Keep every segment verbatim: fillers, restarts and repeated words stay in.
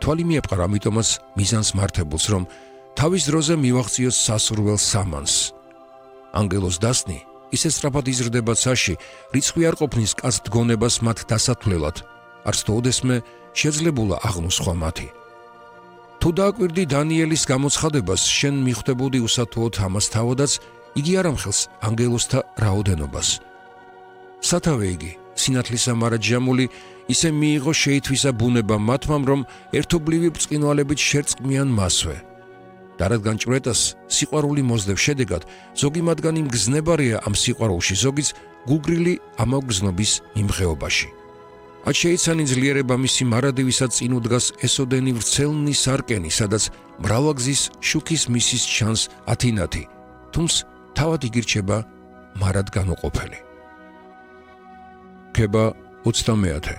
თვალი მიეპყარ ამიტომაც მიზანს მართებულს, რომ თავის დროზე მივაღწიოს სასურველ სამანს. ანგელოს დასნი ისე სწრაფად იზრდება ცაში, რიცხვი არ ყოფნის კაც დგონებას მათ დასათვლელად, არც თოდესმე შეძლებულა აღმოსხვა მათი. თუ დააკვირდი დანიელის გამოცხადებას, შენ მიხვდებოდი უსათუოდ ამას თავადაც, იგი არ ამხელს ანგელოსთა რაოდენობას. სათავე იგი, სინათლისა მარადჟამული, ისე მიიღო შეითვისა ბუნება მათმამ, რომ ერთობლივი ბრწყინვალებით შერწყმიან მასვე. და რადგან ჭვრეტას სიყვარული მოსდევს შედეგად, ზოგი მათგანი მგზნებარია ამ სიყვარულში, ზოგიც გულგრილი ამავგზნობის მიმღეობაში. ათ შეიცანი ძლიერება მისი მარადივისაც წინ უდგას ესოდენი ვრცელნი სარკენი, სადაც მრავალგზის შუქის მისის ჩანს ათინათი, თუმც თავად იგირჩება მარად განუყოფელი. ქება ოცდამეათე.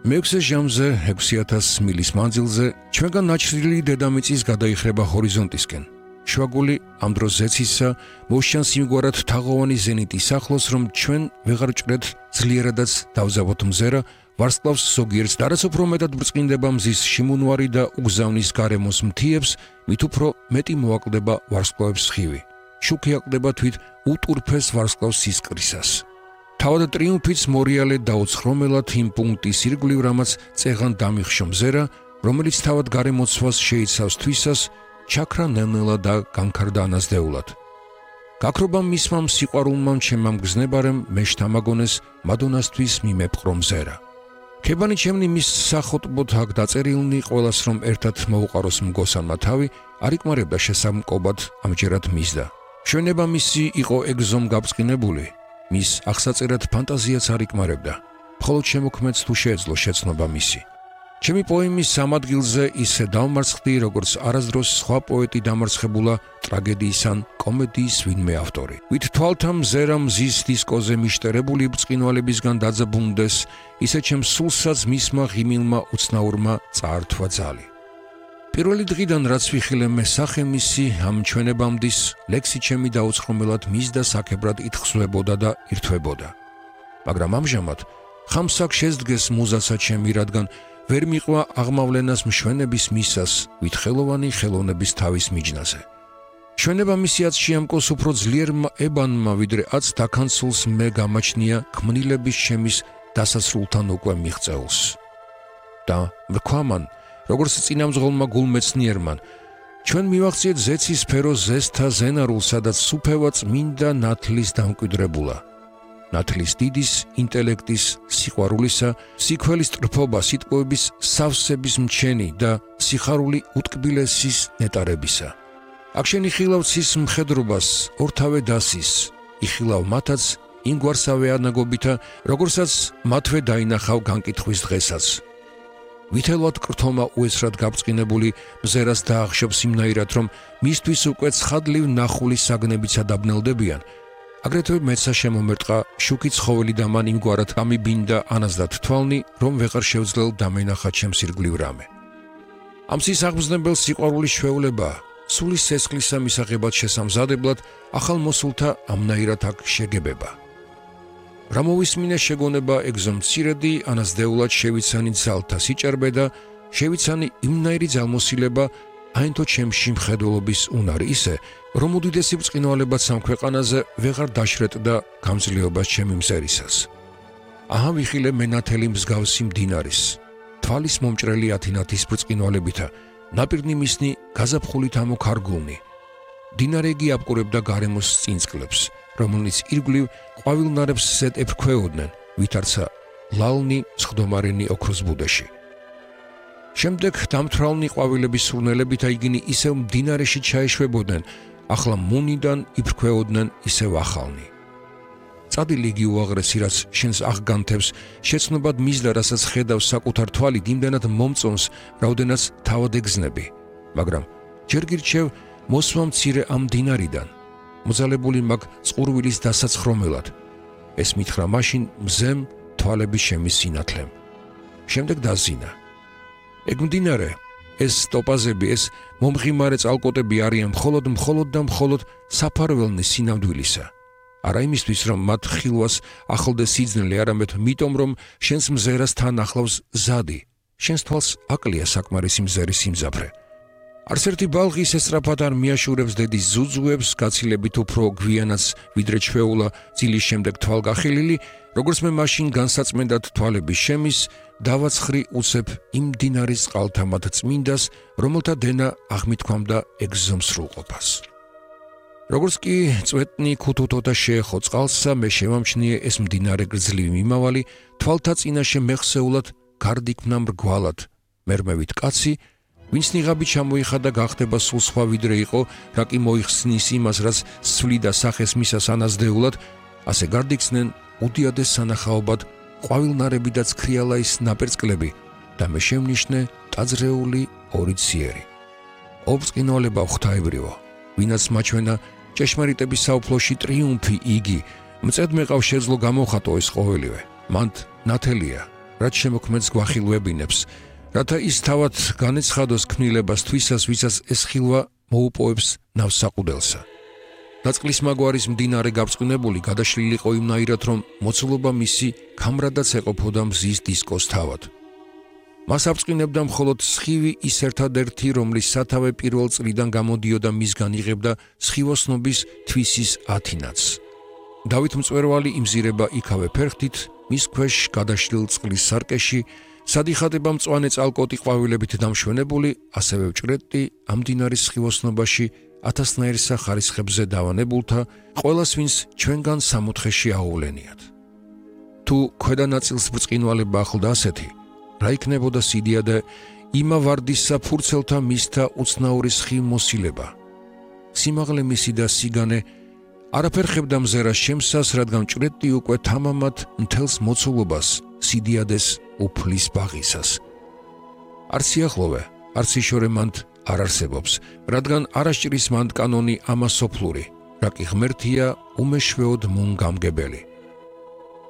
მეექვსე ჟამზე ექვსი ათას მილის მანძილზე ჩვენგან ნაჩრილი დედამიწის გადაიხრება ჰორიზონტისკენ. შვაგული ამ დროს ზეცისა მოსჩანს იმგვარად თაღოვანი ზენიტის ახლოს, რომ ჩვენ ვეღარ ჭრეთ ძლიერადაც დავზავოთ მზერა, ვარსკვლავს ზოგიერთს და რაც უფრო მეტად ბრწყინდება მზის შიმუნვარი და უგზავნის გარემოს მთიებს, მით უფრო მეტი მოაკლდება ვარსკვლავებს სხივი. შუქი აკლდება თვით უტურფეს ვარსკვლავს სისკრისას. თავად ტრიუმფიც მორიალე დაუცხრომელად იმ პუნქტის ირგვლივ, რამაც წეღან დამიხშო მზერა, რომელიც თავად გარემოცვას შეიცავს თვისას, ჩაქრა ნელ-ნელა და განქარდა ანაზდეულად. გაქრობამ მისმამ სიყვარულმამ ჩემამ გზნებარემ მე შთამაგონეს მადონასთვის მიმეპყრო მზერა. ქებანი ჩემნი მის სახოტბოთ აქ დაწერილნი, ყველას რომ ერთად მოუყაროს მგოსანმა თავი, არ იკმარებდა შესამკობად ამჯერად მისდა. მშვენება მისი იყო ეგზომ გაბრწყინებული, მის აღსაწერად ფანტაზიაც არ იკმარებდა, მხოლოდ შემოქმედს თუ შეეძლო შეცნობა მისი. ჩემი პოემის სამ ადგილზე ისე დავმარცხდი, როგორც არასდროს სხვა პოეტი დამარცხებულა ტრაგედიის ან კომედიის ვინმე ავტორი. ვით თვალთა მზერა მზის დისკოზე მიშტერებული ბრწყინვალებისგან დაძაბუნდეს, ისე ჩემს სულსაც მისმა ღიმილმა უცნაურმა წაართვა ძალი. პირველი დღიდან რაც ვიხილე მე სახე მისი ამ ჩვენებამდის, ლექსი ჩემი დაუცხრომელად მის და საქებრად ითხსვებოდა და ირთვებოდა. მაგრამ ამჟამად ხამსაკ შესდგეს მუზაცა ჩემი, რადგან ვერ მიყვა აღმავლენას მშვენების მისას, ვით ხელოვანი ხელოვნების თავის მიჯნაზე. ჩვენება მისიაც შეამკოს უფრო ძლიერმა ებანმა, ვიდრე აც დაქანცულს მე გამაჩნია ქმნილების ჩემის დასასრულთან უკვე მიღწეულს. და ვქვამან, როგორც წინამძღოლმა გულმეცნიერმან, ჩვენ მივახციეთ ზეცის სფერო ზესთა ზენარულს, სადაც სუფევა წმინდა ნათლის დამკვიდრებულა. ნათლის დიდის, ინტელექტის, სიყვარულისა, სიქველის ტრფობა, სიტყვების სავსების მჩენი და სიხარული უტკბილესის ნეტარებისა. აქ შენ იხილავ ცის მხედრობას, ორთავე დასის, იხილავ მათაც იმგვარსავე ანაგობითა, როგორცაც მათვე დაინახავ განკითხვის დღესაც. ვითელვად კრთომა უესრად გაბრწყინებული მზერას დაახშობს იმნაირად, რომ მისთვის უკვე ცხადლივ ნახული საგნებიცა დაბნელდებიან. აგრეთვე მეცა შემომერტყა შუქი ცხოველი და მან იმგვარად გამიბინდა ანაზდათ თვალნი, რომ ვეღარ შევძლელ დამენახა ჩემს ირგვლივ რამე. ამ ცის აღმზნებელ სიყვარულის ჩვეულებაა, სულის სესხლისა მისაღებად შესამზადებლად ახალ მოსულთა ამნაირად აქ შეგებება. რა მოვისმინე შეგონება ეგზომ მცირედი, ანაზდეულად შევიცანი ძალთა სიჭარბე და შევიცანი იმნაირი ძალმოსილება, აინთო ჩემში მხედველობის უნარი ისე, რომ უდიდესი ბრწყინვალებაც ამ ქვეყანაზე ვეღარ დაშრეტდა გამძლეობას ჩემი მზერისას. აჰა ვიხილე მენათელი მსგავსი მდინარის, თვალის მომჭრელი ათინათის ბრწყინვალებითა, ნაპირნი მისნი გაზაფხულით ამოქარგულნი. მდინარეგი აპყურებდა გარემოს წინწყლებს, რომელნიც ირგვლივ ყვავილნარებს სეთ ეფრქვეოდნენ, ვითარცა ლალნი სხდომარენი ოქროს ბუდეში. შემდეგ დამთვრალნი ყვავილების სურნელებითა იგინი ისევ მდინარეში ჩაეშვებოდნენ, ახლა მუნიდან იფრქვეოდნენ ისევ ახალნი. წადი ლიგი უაღრესი, რაც შენს აღგანთებს, შეცნობად მისდა, რასაც ხედავს საკუთარ თვალით, იმდენად მომწონს, რაოდენაც თავად ეგზნები. მაგრამ ჯერ გირჩევ მოსვა მცირე ამ მდინარიდან, მოძალებული მაგ წყურვილის დასაცხრომელად. ეს მითხრა მაშინ მზემ თვალების შემის სინათლემ. შემდეგ დაზინა. ეგ მდინარე, ეს ტოპაზები, ეს მომღიმარე წყალკოტები არიან მხოლოდ მხოლოდ და მხოლოდ საფარველნის სინამდვილისა. არა იმისთვის, რომ მათ ხილვას ახლდეს სიძნელე, არამედ მიტომ, რომ შენს მზერას თან ახლავს ზადი, შენს თვალს აკლია საკმარისი მზერის სიმძაფრე. არც ერთი ბალღი ისე სწრაფად არ მიაშურებს დედის ზუძუებს, გაცილებით უფრო გვიანაც ვიდრე ჩვეულა ძილის შემდეგ თვალგახილილი, როგორც მე მაშინ განსაწმენდად თვალები შემის, დავაცხრი უცებ იმ მდინარის წყალთამად წმინდას, რომელთა დენა აღმითქვამდა ეგზომ სრულყოფას. როგორც კი წვეტნი ქუთუთოთა შეეხო წყალსა, მე შევამჩნიე ეს მდინარე გრძლივი მიმავალი, თვალთა წინაშე მეხსეულად გარდიქმნა მრგვალად, მერმევით კაცი, ვინც ნიღაბი ჩამოიხადა გახდება სულ სხვა ვიდრე იყო, რა კი მოიხსნის იმას, რაც სვლიდა სახეს მისას ანაზდეულად, ასე გარდიქცნენ უდიადეს სანახაობად ყვავილნარები და ცქრიალაის ნაპერწკლები და მე შევნიშნე ტაძრეული ორი ციერი. ობწყინვალება ღვთაებრივო, ვინაც მაჩვენა ჭეშმარიტების საუფლოში ტრიუმფი იგი, მწედ მეყავ შეძლო გამოხატო ეს ყოველივე, მანდ ნათელია, რაც შემოქმედს გვახილვებინებს, რათა ის თავად განეცხადოს ქმნილებას თვისას, ვისაც ეს ხილვა მოუპოვებს ნავსაყუდელსა. დაწყლის მაგვარის მდინარე გაბრწყინებული გადაშლილიყო იმნაირად, რომ მოცულობა მისი ქამრადაც ეყოფოდა მზის დისკოს თავად. მას აბწყინებდა მხოლოდ სხივი ის ერთადერთი, რომლის სათავე პირველ წლიდან გამოდიოდა მისგან იღებდა სხივოსნობის თვისის ათინათს. დავით მწვერვალი იმზირება იქავე ფერხთით, მის ქვეშ გადაშლილ წყლის სარკეში, სადიხატება მწვანე წალკოტი ყვავილებით დამშვენებული, ასევე ვჭრეტი ამ მდინარის სხივოსნობაში ათასნაირსა ხარისხებზე დავანებულთა, ყველას ვინც ჩვენგან სამოთხეში აუვლენიათ. თუ ქვედა ნაწილს ბრწყინვალება ახლდა ასეთი, რა იქნებოდა სიდიადე იმა ვარდისსა ფურცელთა მისთა უცნაური სხივ მოსილება. სიმაღლე მისი და სიგანე არაფერ ხებდა მზერას შემსას, რადგან ჭრეტი უკვე თამამად მთელს მოცულობას სიდიადეს უფლის ბაღისას. არც სიახლოვე, არც იშორე მანდ არ არსებობს, რადგან არასჭრის მანდ კანონი ამასოფლური, რა კი ღმერთია უმეშვეოდ მუნ გამგებელი.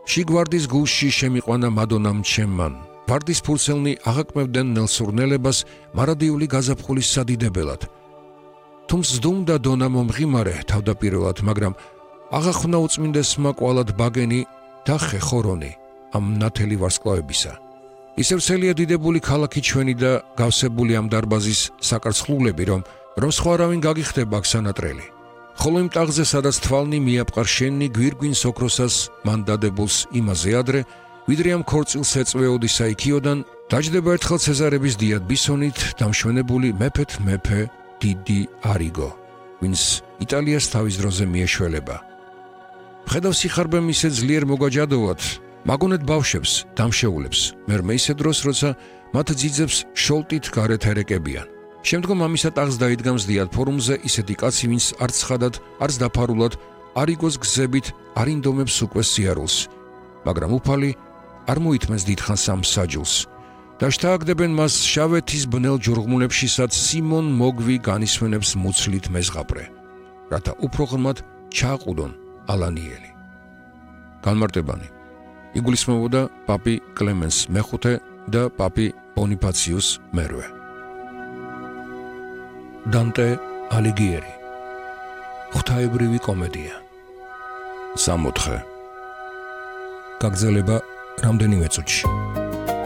შიგვარდის გულში შემიყვანა მადონამ ჩემმან, ვარდის ფურცელნი აღაკმევდნენ ნელსურნელებას მარადიული გაზაფხულის სადიდებელად. თუმს ზდუმდა დონა მომღიმარე თავდაპირველად, მაგრამ აღახვნა უწმინდესმა კვალად ბაგენი და ხეხორონი ამ ნათელი ვარსკვლავებისა. ისევ ცელია დიდებული ქალაქი ჩვენი და გავსებული ამ დარბაზის საკარცხლულები, რომ რომ სხვა არავინ გაგიხდება აქ სანატრელი. ხოლო იმ ტაღზე, სადაც თვალნი მიაპყარ შენი გვირგვინს ოქროსას მან დადებულს იმაზე ადრე, ვიდრე ამ ქორწილს ეწვეოდისა იქიოდან, დაჯდება ერთხელ ცეზარების დიად ბისონით დამშვენებული მეფეთ მეფე დიდი არიგო, ვინც იტალიას თავის დროზე მიეშველება. მხედავ სიხარბე მისე ძლიერ მოგაჯადოვად, მაგონეთ ბავშვებს, დამშეულებს, მერმე ისე დროს, როცა მათ ძიძებს შოლტით გარეთ ერეკებიან. შემდგომ ამისა ტაღს დაიდგამს დიად ფორუმზე ისეთი კაცი, ვინც არც ცხადად, არც დაფარულად, არიგოს გზებით არ ინდომებს უკვე სიარულს, მაგრამ უფალი არ მოითმენს დიდხანს ამ საჯულს. და შთააგდებენ მას შავეთის ბნელ ჯურღმულებშისაც სიმონ მოგვი განისვენებს მუცლით მეზღაპრე, რათა უფრო ღრმად ჩააყუდონ ალანიელი. განმარტებანი. იგულისხმებოდა პაპი კლემენს მეხუთე და პაპი ბონიფაციუს მერვე. დანტე ალიგიერი. ღვთაებრივი კომედია. სამოთხე. გაგრძელება რამდენიმე წუთში.